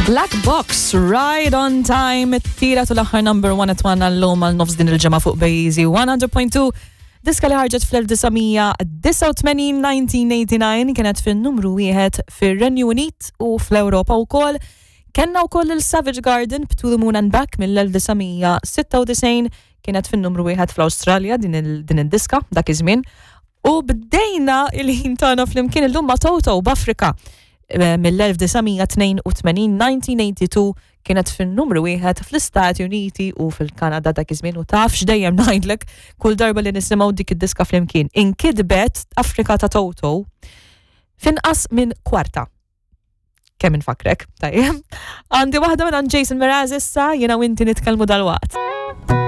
Black Box, Ride on Time, it-tira tu l-aħħar number one at one għallum għal nofs din il-ġemma fuq Bejzi 100.2. Diska li ħarġet fl-1989 1989 kienet fin-numru wieħed fir-Renju Unit u fl-Ewropa wkoll. Kenna wkoll il-Savage Garden b'To the Moon and Back mill-1996 kienet fin-numru wieħed fl-Awstralja din id-diska dak iż-żmien. U bdejna il-ħin tagħna flimkien illum ma' Toto b'Afrika eh, mill-1982 1982 kienet fin-numru wieħed fl-Istati Uniti u fil-Kanada dak iż-żmien u taf x'dejjem ngħidlek kull darba li nisimgħu dik id-diska flimkien. Inkitbet Afrika ta' Toto finqas minn kwarta. Kemm infakrek, tajjeb. Għandi waħda minn Jason Mraz issa jiena u inti nitkellmu dalwaqt.